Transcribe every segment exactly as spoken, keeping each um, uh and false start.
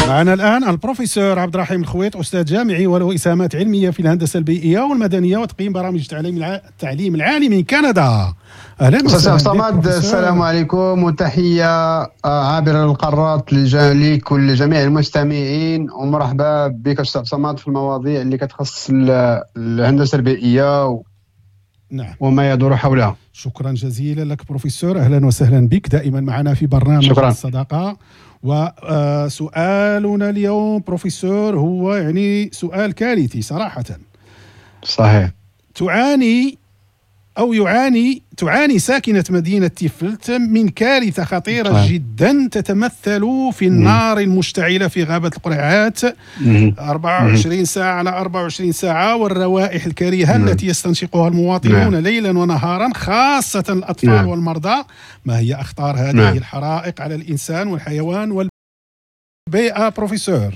معنا الآن البروفيسور عبد الرحيم الخويط، أستاذ جامعي وله إسهامات علمية في الهندسة البيئية والمدنية وتقييم برامج التعليم التعليم العالي من كندا. أهلا وسهلا صمد، السلام عليكم وتحية عابرة للقارات لكل جميع المستمعين، ومرحبا بك أستاذ صمد في المواضيع اللي كتخص الهندسة البيئية و... نعم. وما يدور حولها. شكرا جزيلا لك بروفيسور، أهلا وسهلا بك دائما معنا في برنامج شكرا. الصداقة. وسؤالنا اليوم بروفيسور هو يعني سؤال كارثي صراحة. صحيح. تعاني أو يعاني تعاني ساكنة مدينة تيفلت من كارثة خطيرة صحيح. جدا تتمثل في النار المشتعلة في غابة القرعات أربعة وعشرين ساعة على أربعة وعشرين ساعة، والروائح الكريهة مم. التي يستنشقها المواطنون مم. ليلا ونهارا، خاصة الأطفال مم. والمرضى. ما هي أخطار هذه مم. الحرائق على الإنسان والحيوان والبيئة بروفيسور؟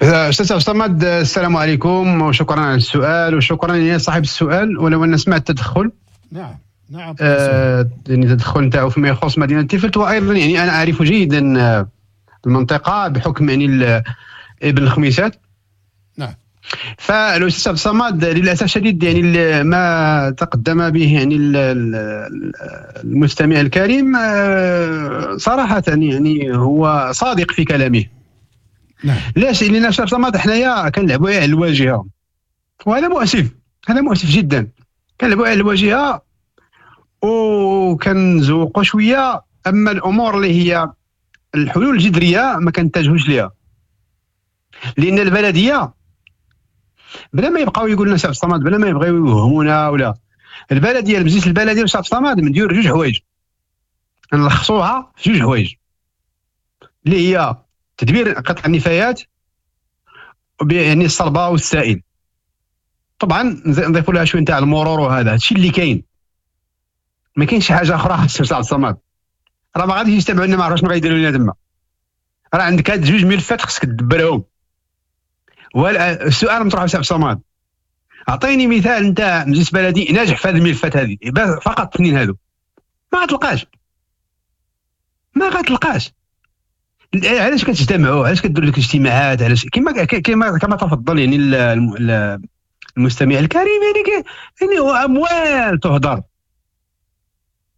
أستاذ صمد، السلام عليكم وشكرا على السؤال وشكرا لصاحب السؤال، ولو أن سمعت التدخل. نعم نعم آه يعني التدخل نتاعو فيما يخص مدينة تيفلت، وأيضا يعني أنا أعرف جيدا المنطقة بحكم يعني ابن الخميسات. نعم. فالأستاذ صمد للأسف الشديد يعني ما تقدم به يعني المستمع الكريم صراحة يعني هو صادق في كلامه. نعم. علاش؟ لان أستاذ صمد حنايا كنلعبوا على الواجهة، وهذا مؤسف، هذا مؤسف جدا. كنلعبوا على الواجهة وكنزوقوا شوية، اما الامور اللي هي الحلول الجذرية ما كنتجهوش ليها، لان البلدية بلا ما يبقاو يقولوا لنا أستاذ صمد، بلا ما يبغيو يوهمونا ولا البلدية، المجلس البلدي أستاذ صمد مدير جوج حوايج، نلخصوها في جوج حوايج اللي هي تدبير قطع النفايات يعني الصلبة والسائل، طبعا نضيفوا لها شوية نتاع المرور، وهذا هادشي اللي كاين، ما كاينش حاجة اخرى. السي عبد الصمد راه ما غاديش يتبعوا لنا، ما عرفوش شنو غيديروا لنا تما، راه عندك هاد جوج ملفات خصك تدبرهم. والسؤال مطروح السي عبد الصمد، اعطيني مثال نتاع مجلس بلدي ناجح في هذه الملفات هذه فقط، اثنين هادو ما غتلقاش، ما غتلقاش. علاش كتجتمعوا؟ علاش كديروا لك اجتماعات؟ علاش كما كما كما تفضل يعني المستمع الكريم، يعني يعني هو اموال تهدر.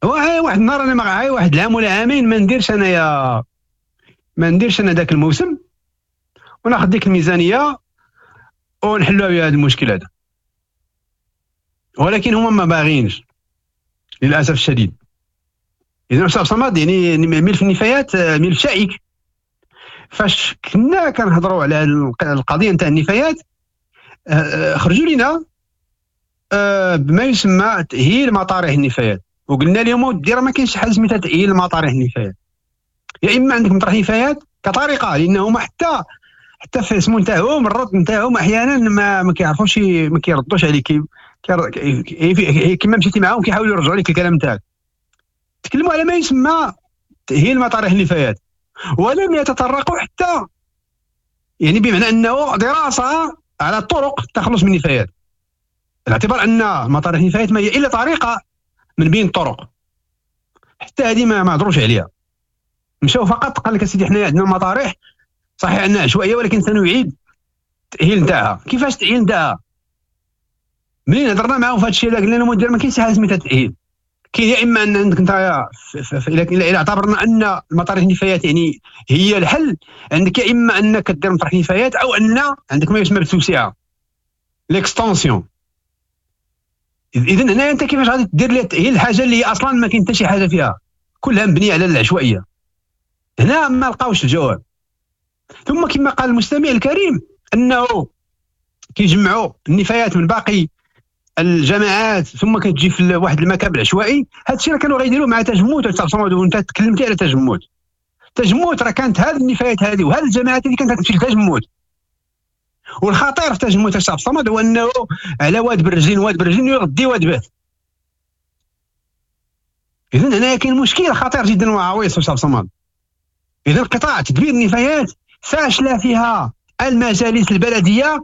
واحد النهار انا معايا واحد العام ولا عامين ما نديرش انايا، ما نديرش انا ذاك الموسم، وناخذ ديك الميزانية ونحلوا بها هذا المشكل هذا، ولكن هما ما باغينش للاسف الشديد. اذا استاذ صمد يعني ملف النفايات ملف شائك. فاش كنا كنهضروا على القضية نتاع النفايات خرجوا لنا بما يسمى تاهيل مطارح النفايات، وقلنا لهم ودي راه ما كاينش حاجة سميتها تاهيل مطارح النفايات، يا اما عندك مطرح نفايات كطريقه، لانهم حتى حتى في اسمو نتاعهم الرد نتاعهم احيانا ما ما كيعرفوش، ما كيردوش عليك، كيما مشيتي معاهم كيحاولوا يرجعوا لك الكلام نتاعك. تكلموا على ما يسمى تاهيل مطارح النفايات، ولم يتطرقوا حتى يعني بمعنى انه دراسة على طرق التخلص من النفايات، باعتبار ان مطارح النفايات ما هي الا طريقه من بين الطرق، حتى هذه ما ما هضروش عليها. مشاو فقط قال لك اسيدي حنا عندنا مطارح صحيح انها عشوائية ولكن سنعيد التاهيل نتاعها. كيفاش التاهيل نتاعها؟ منين هضرنا معاهم في هذا الشيء هذا قلنا لهم ما كاينش شي حاجة سميتها تاهيل، كاين يا اما ان عندك انت الى اعتبرنا ان المطارح النفايات يعني هي الحل، عندك يا اما انك دير مطرح نفايات او ان عندك ما يسمى بالتوسعه l'extension. اذا هنا انت كيفاش غادي دير لها التاهيل الحاجة اللي هي اصلا ما كاين حتى شي حاجة فيها، كلها مبنية على العشوائية. هنا ما لقاوش الجواب. ثم كما قال المستمع الكريم انه كيجمعوا النفايات من باقي الجماعات ثم كتجي في واحد المكان العشوائي. هذا الشيء راه كانوا غيديروه مع تجموت، وانت تكلمتي على تجموت. تجموت راه كانت هذه النفايات هذه وهذه الجماعات اللي كانت تمشي لتجموت. والخطير في تجموت الشعب الصمد هو انه على واد بالرجلين، واد بالرجلين يغدي واد بات. اذا هنا كاين مشكل خطير جدا وعويص الشعب الصمد. اذا قطاع تدبير النفايات فاشلة فيها المجالس البلدية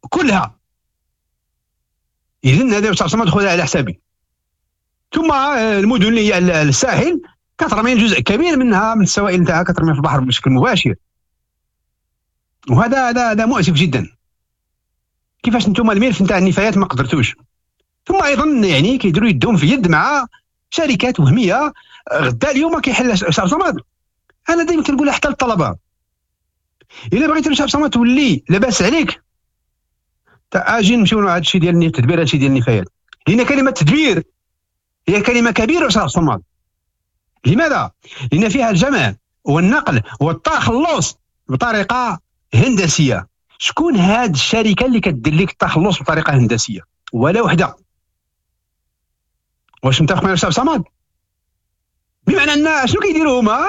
كلها. اذا هذا الشعب الصمد خذها على حسابي. ثم المدن اللي هي الساحل كترمي جزء كبير منها من السوائل نتاعها كترمي في البحر بشكل مباشر. وهذا هذا هذا مؤسف جدا. كيفاش انتم الملف نتاع النفايات ما قدرتوش؟ ثم ايضا يعني كيديروا يدهم في يد مع شركات وهمية. غدا اليوم كيحل شعب صمد. انا دائما كنقولها حتى للطلبة، الا بغيتي شعب صمد تولي لاباس عليك، اجي نمشيو لهذا الشيء ديال التدبير، هذا الشيء ديال النفايات، لان كلمة تدبير هي كلمة كبيرة شعب صمد. لماذا؟ لان فيها الجمع والنقل والتخلص بطريقة هندسية. شكون هاد الشركة اللي كدير لك التخلص بطريقة هندسية؟ ولا وحده. واش متفق معايا شعب صمد؟ بمعنى ان شنو كيديروا هما؟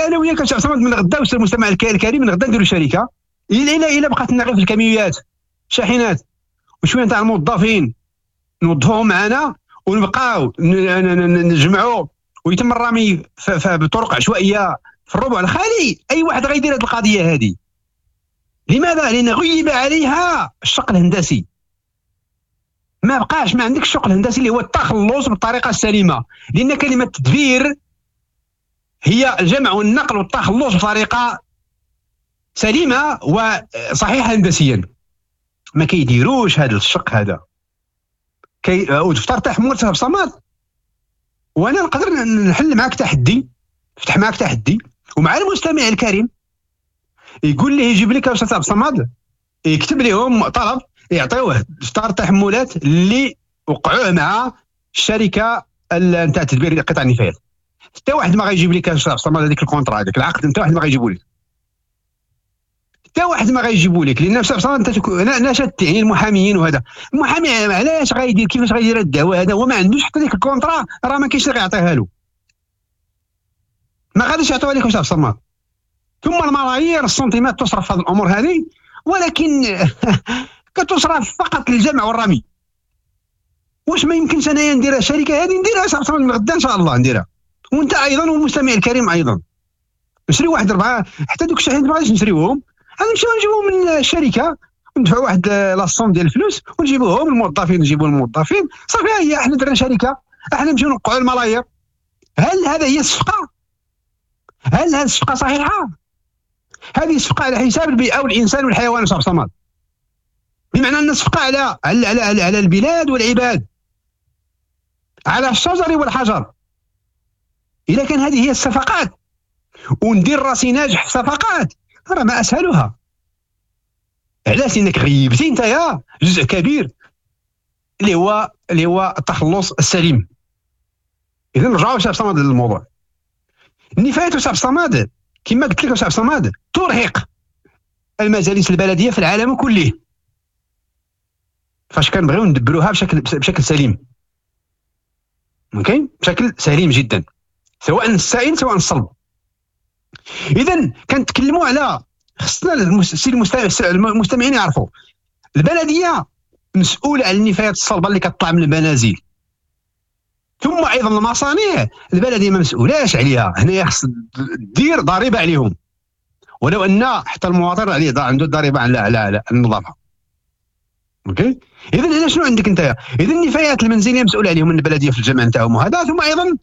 انا وياك شعب صمد من غدا، المستمع الكريم، من غدا نديروا شركة الا الا الا بقات لنا غير في الكاميويات شاحنات وشوية نتاع الموظفين نوظفوهم معنا ونبقاو نجمعوا ويتم الرمي بطرق عشوائية في الربع الخالي. اي واحد غيدير هذه القضية هذه. لماذا؟ لان غيب عليها الشق الهندسي. ما بقاش ما عندك الشق الهندسي اللي هو التخلص بالطريقة السليمة، لان كلمة تدبير هي الجمع والنقل والتخلص بطريقة سليمة وصحيحه هندسيا. ما كيديروش هذا الشق هذا. كي ودفتر تحمل صاحب صمد، وانا نقدر نحل معك تحدي، نفتح معك تحدي ومع المستمع الكريم، يقول لي يجيب لك استاذ عبد الصمد، يكتب لهم طلب يعطيوه دفتر تحملات اللي وقعوه مع الشركة نتاع تدبير قطع النفايات. حتى واحد ما غيجيب لك استاذ عبد الصمد هذيك ال contrat، هذاك العقد، حتى واحد ما غيجيبو لك، حتى واحد ما غيجيبو لك، لان استاذ عبد الصمد انت ناشدت يعني المحاميين، وهذا المحامي علاش غيدير، كيفاش غيدير الدعوة هذا هو ما عندوش حتى ديك ال contrat، راه ما كاينش اللي غيعطيها له، ما غاديش يعطيوها لك استاذ عبد الصمد. ثم الملايير السنتيمات تصرف في هذه الامور هذه، ولكن كتصرف فقط للجمع والرمي. واش ما يمكنش انايا نديرها الشركة هذه؟ نديرها من غدا ان شاء الله نديرها، وانت ايضا والمستمع الكريم ايضا. نشري واحد اربعة حتى دوك الشاحنات ما غاديش نشريوهم، غادي نمشيو نجيبوهم من الشركة وندفعوا واحد la somme ديال الفلوس ونجيبوهم الموظفين، نجيبوا الموظفين صافي. هي احنا درنا شركة، احنا نمشيو نوقعوا الملايير. هل هذا هي الصفقة؟ هل هذه الصفقة صحيحه؟ هذه الصفقة على حساب البيئة والانسان والحيوان صاحب صمد، بمعنى ان الصفقة على على على, على البلاد والعباد، على الشجر والحجر. اذا كان هذه هي الصفقات وندير راسي ناجح في صفقات، راه ما اسهلها. علاش؟ لانك غيبتي انت يا جزء كبير اللي هو اللي هو التخلص السليم. اذا نرجعوا شاب صمد للموضوع. النفايات شاب صمد كما قلت لك شاب صمد ترهق المجالس البلدية في العالم كله، فاش كنبغيو ندبروها بشكل بشكل سليم، okay، بشكل سليم جدا، سواء السائل سواء الصلب. اذا كنتكلموا على خصنا المستمعين يعرفوا البلدية مسؤولة على النفايات الصلبة اللي كتطلع من المنازل، ثم ايضا المصانع البلدية ما مسؤولاش عليها. هنا خص دير ضريبة عليهم، ولو ان حتى المواطن عليه عنده ضريبة على على على النظافة. okay، اذا هنا شنو عندك انت؟ اذا النفايات المنزلية مسؤول عليهم البلدية في الجمع نتاعهم وهذا، ثم ايضا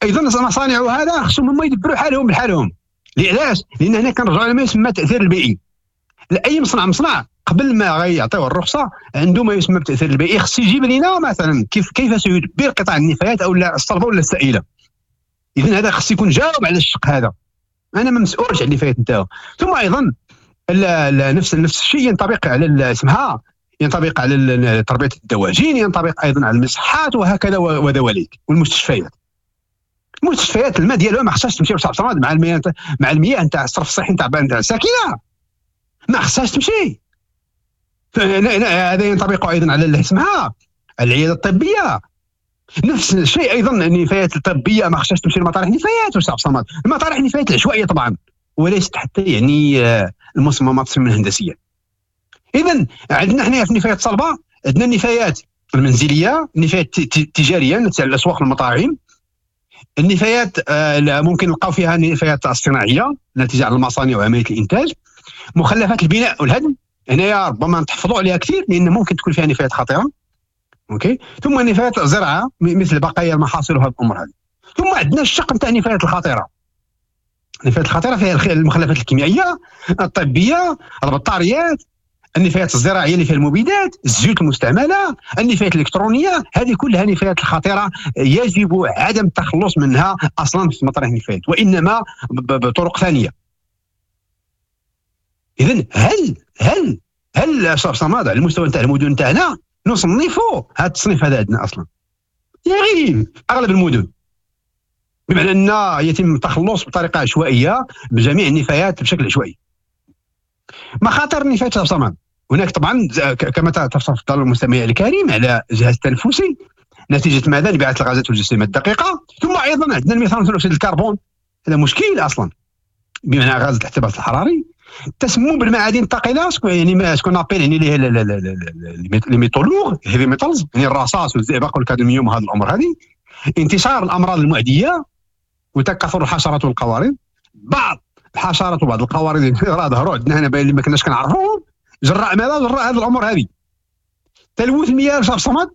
ايضا المصانع وهذا خصهم هما يدبروا حالهم بحالهم. علاش؟ لان هنا كنرجعوا لما يسمى التاثير البيئي. اي مصنع مصنع قبل ما غيعطيوه الرخصة عنده ما يسمى بالتاثير البيئي، خص يجيب لنا مثلا كيف كيف سيدبر قطاع النفايات او الصلبة ولا السائلة. اذا هذا خص يكون جاوب على الشق هذا، انا ما مسؤولش على النفايات نتاعو. ثم ايضا نفس نفس الشيء ينطبق على اسمها، ينطبق على تربيه الدواجن، ينطبق ايضا على المصحات وهكذا وذواليك، والمستشفيات. المستشفيات الماء ديالها ما خصهاش تمشي بصح صمد مع المياه مع المياه نتاع الصرف الصحي نتاع نتاع الساكنة، ما خصهاش تمشي. هذا ينطبق ايضا على اسمها العيادة الطبية، نفس الشيء ايضا. النفايات الطبية ما خصهاش تمشي لمطارح النفايات وصح صمد، المطارح النفايات العشوائية طبعا، وليست حتى يعني المصممات التصميم الهندسية. اذا عندنا حنايا في النفايات الصلبة عندنا النفايات المنزلية، النفايات التجارية نتاع الاسواق والمطاعم، النفايات ممكن نلقاو فيها النفايات الصناعية ناتجة على المصانع وعملية الانتاج، مخلفات البناء والهدم، هنايا ربما نتحفظوا عليها كثير لان ممكن تكون فيها نفايات خطيرة. okay، ثم نفايات الزراعة مثل بقايا المحاصيل وهذه الامور هذه. ثم عندنا الشق نتاع النفايات الخطيرة. النفايات الخطيرة فيها المخلفات الكيميائية، الطبية، البطاريات، النفايات الزراعية اللي فيها المبيدات، الزيوت المستعملة، النفايات الالكترونية، هذه كلها نفايات الخطيرة يجب عدم التخلص منها اصلا في مطارح النفايات، وانما بطرق ثانية. اذا هل هل هل استاذ صمد على المستوى نتاع المدن تاعنا نصنفوا هذا التصنيف هذا عندنا اصلا؟ يغيب اغلب المدن، بمعنى ان يتم التخلص بطريقة عشوائية بجميع النفايات بشكل عشوائي. مخاطر النفايات صمد هناك طبعا كما تفضل المستمع الكريم على الجهاز التنفسي نتيجة ماذا؟ انبعاث الغازات والجسيمات الدقيقة، ثم ايضا عندنا الميثان ثاني اكسيد الكربون، هذا مشكل اصلا بمعنى غاز الاحتباس الحراري. التسمم بالمعادن الثقيلة يعني ce qu'on appelle يعني les métaux lourds heavy metals، يعني الرصاص والزئبق والكادميوم وهذه الامور هذه. انتشار الامراض المعدية وتكاثر الحشرات والقوارض، بعض الحشرات وبعض القوارض راه ظهروا عندنا هنا اللي ما كناش كنعرفوهم، جراء ماذا؟ جراء هذه الامور هذه. تلوث المياه الشاب صمد،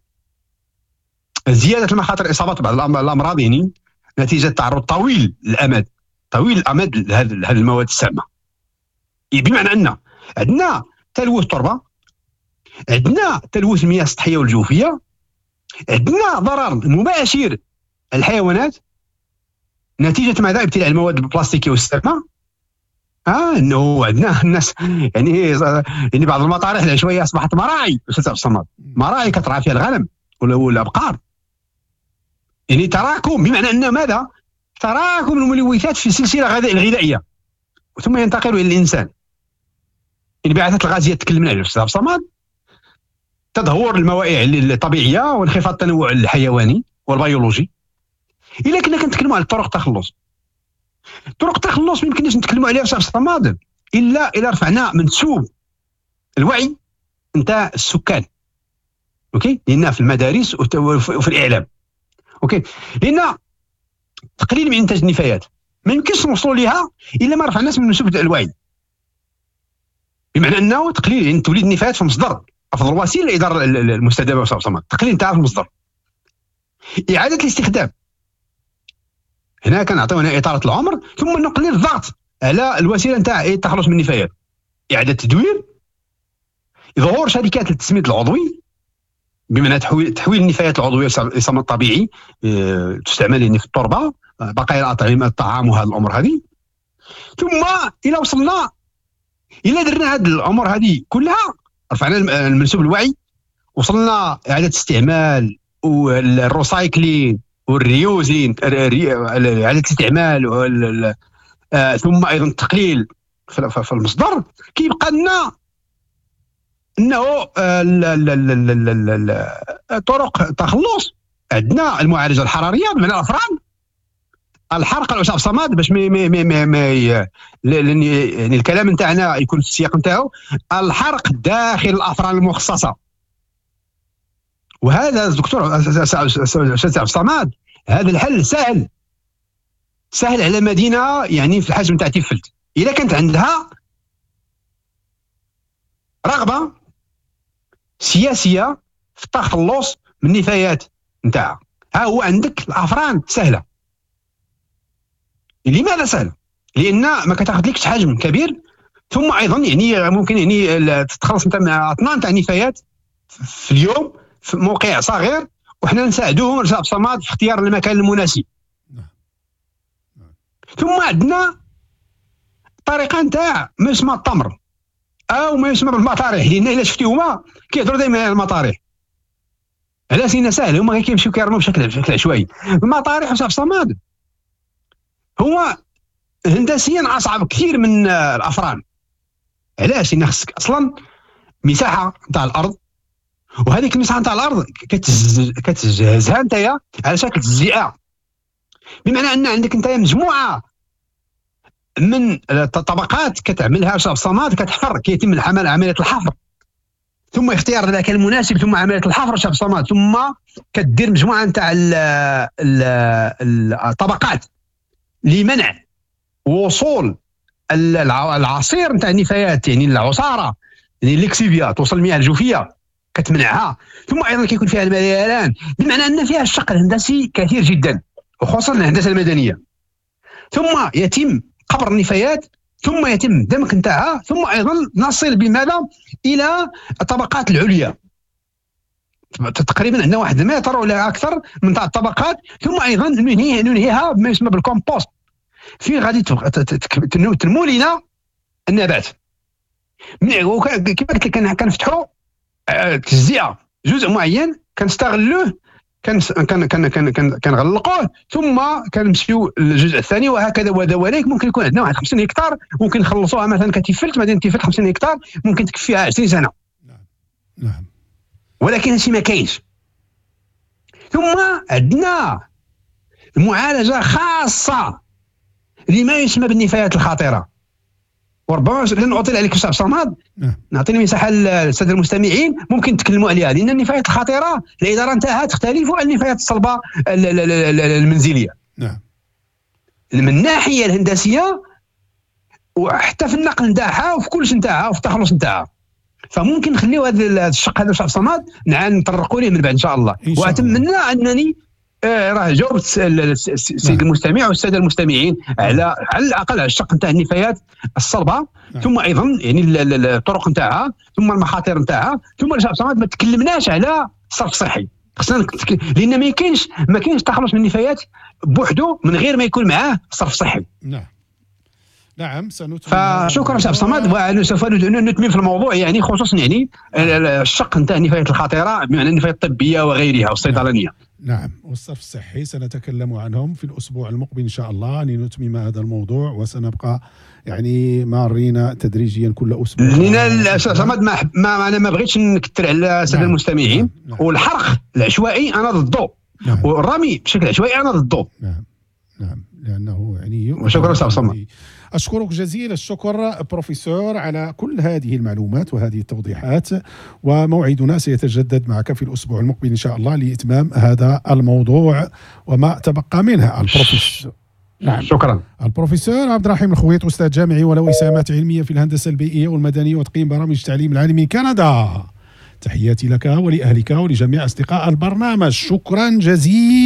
زيادة المخاطر اصابه بعض الامراض يعني نتيجة تعرض طويل الامد طويل الامد لهذه المواد السامة. بمعنى ان عندنا تلوث التربة، عندنا تلوث المياه السطحية والجوفيه، عندنا ضرر مباشر الحيوانات نتيجة ماذا؟ ابتلاع المواد البلاستيكية والسامه. اه انه عندنا الناس يعني يعني بعض المطارح العشوائية اصبحت مراعي استاذ عبد الصمد، مراعي كترعى فيها الغنم ولا الابقار، يعني تراكم، بمعنى ان ماذا؟ تراكم الملوثات في السلسلة الغذائية ثم ينتقل الى الانسان. الانبعاثات الغازية تكلمنا عليها استاذ عبد الصمد، تدهور الموائع الطبيعية وانخفاض التنوع الحيواني والبيولوجي. الا كنا كنتكلموا على طرق التخلص، طرق التخلص ما يمكنناش نتكلموا عليها استاذ الصمد الا الا رفعنا منسوب الوعي نتاع السكان، OK، لان في المدارس وفي الاعلام، OK، لان تقليل من انتاج النفايات ما يمكنش نوصلوا ليها الا ما رفعناش من منسوب الوعي، بمعنى انه تقليل يعني توليد النفايات في المصدر افضل وسيلة للادارة المستدامة استاذ الصمد، التقليل نتاعها في المصدر. اعاده الاستخدام، هنا كنعطيو هنا اطاله العمر، ثم نقلل الضغط على الوسيلة نتاع التخلص من النفايات، اعاده التدوير، ظهور شركات للتسميد العضوي بمعنى تحويل تحويل النفايات العضوية للسماد الطبيعي تستعمل يعني في التربة، بقايا الاطعمة الطعام وهذه الامور هذه. ثم الى وصلنا الى درنا هذه الامور هذه كلها، رفعنا المنسوب الوعي، وصلنا اعاده استعمال وال recycling وال reusing، اعاده الاستعمال، ثم ايضا التقليل في المصدر، كيبقى لنا انه طرق التخلص. عندنا المعالجة الحرارية بمعنى الافران، الحرق العشاب صمد باش مي مي مي مي يعني الكلام نتاعنا يكون في السياق نتاعو، الحرق داخل الافران المخصصة. وهذا الدكتور استاذ عبد الصمد هذا الحل سهل سهل على مدينة يعني في الحجم تاع تيفلت، اذا كانت عندها رغبة سياسية في التخلص من النفايات نتاعها. ها هو عندك الافران سهلة. لماذا سهلة؟ لان ما كتاخذلكش حجم كبير، ثم ايضا يعني ممكن يعني تتخلص انت من اطنان تاع النفايات في اليوم في موقع صغير، وحنا نساعدوهم رجال الصمد في اختيار المكان المناسب. ثم عندنا طريقه نتاع ما يسمى التمر او ما يسمى بالمطارح، لان الا شفتي هما كيهضروا دائما على المطارح، علاش؟ لان ساهل، هما غير كيمشيو كيرموا بشكل بشكل عشوائي. المطارح رجال الصمد هو هندسيا اصعب كثير من الافران. علاش؟ لان خصك اصلا مساحة نتاع الارض، وهذيك المساحة نتاع الارض كتجهزها نتايا على شكل تجزئه، بمعنى ان عندك نتايا مجموعة من الطبقات كتعملها شاب صماد، كتحفر، كيتم العمل عملية الحفر، ثم اختيار المكان المناسب، ثم عملية الحفر شاب صماد، ثم كدير مجموعة نتاع الطبقات لمنع وصول العصير نتاع النفايات، يعني العصاره، يعني lixiviat توصل المياه الجوفيه كتمنعها، ثم ايضا كيكون فيها المليان، بمعنى ان فيها الشق الهندسي كثير جدا، وخصوصا الهندسة المدنية. ثم يتم قبر النفايات، ثم يتم دمك نتاعها، ثم ايضا نصل بماذا؟ الى الطبقات العليا. تقريبا عندنا واحد المتر ولا اكثر من تاع الطبقات، ثم ايضا ننهي ننهيها بما يسمى بالكومبوست، فين غادي تنمو لنا النبات. كما قلت لك كنفتحوا تجزئه جزء معين كنستغلوه، كن كن كن كن كنغلقوه، ثم كنمشيو للجزء الثاني، وهكذا ودواليك. ممكن يكون عندنا واحد خمسين هكتار ممكن نخلصوها مثلا كتيفلت، مدينة تيفلت خمسين هكتار ممكن تكفيها عشرين سنة. نعم نعم، ولكن هادشي ما كاينش. ثم عندنا معالجة خاصة لما يسمى بالنفايات الخطيرة، وربما لن اطيل عليك استاذ صمد، نعطيني مساحة للسادة المستمعين ممكن نتكلموا عليها، لان النفايات الخطيرة الادارة نتاعها تختلف عن النفايات الصلبة المنزلية. نعم، من الناحية الهندسية وحتى في النقل نتاعها وفي كلش نتاعها وفي التخلص نتاعها. فممكن نخليو هذا الشق هذا استاذ صمد نطرقوا ليه من بعد ان شاء الله. واتمنى انني آه راه جاوبت السيد المستمع والسادة المستمعين على على الاقل على الشق نتاع النفايات الصلبة، نعم. ثم ايضا يعني الطرق نتاعها، ثم المخاطر نتاعها، ثم ما تكلمناش على الصرف الصحي. خصنا لان ما يمكنش ما كاينش تخلص من النفايات بوحده من غير ما يكون معاه الصرف الصحي. نعم نعم، سنتمم. فشكرا سي عبد الصمد، وسوف نتمم في الموضوع، يعني خصوصا يعني الشق نتاع النفايات الخطيرة بمعنى النفايات الطبية وغيرها والصيدلانيه. نعم، والصرف الصحي سنتكلم عنهم في الأسبوع المقبل إن شاء الله لنتمم هذا الموضوع، وسنبقى يعني مارين تدريجيا كل أسبوع. لأن صمد ما, ما أنا ما بغيتش نكثر على السادة المستمعين. نعم. نعم. والحرق العشوائي أنا ضده. نعم. والرمي بشكل عشوائي أنا ضده. نعم نعم، لأنه يعني. وشكرا أستاذ صمد. أشكرك جزيل الشكر بروفيسور على كل هذه المعلومات وهذه التوضيحات، وموعدنا سيتجدد معك في الأسبوع المقبل إن شاء الله لإتمام هذا الموضوع وما تبقى منها. البروفيسور نعم، شكرا. البروفيسور عبد الرحيم الخويط، أستاذ جامعي وله إسهامات علمية في الهندسة البيئية والمدنية وتقييم برامج التعليم العالي من كندا. تحياتي لك ولأهلك ولجميع أصدقاء البرنامج، شكرا جزيلا.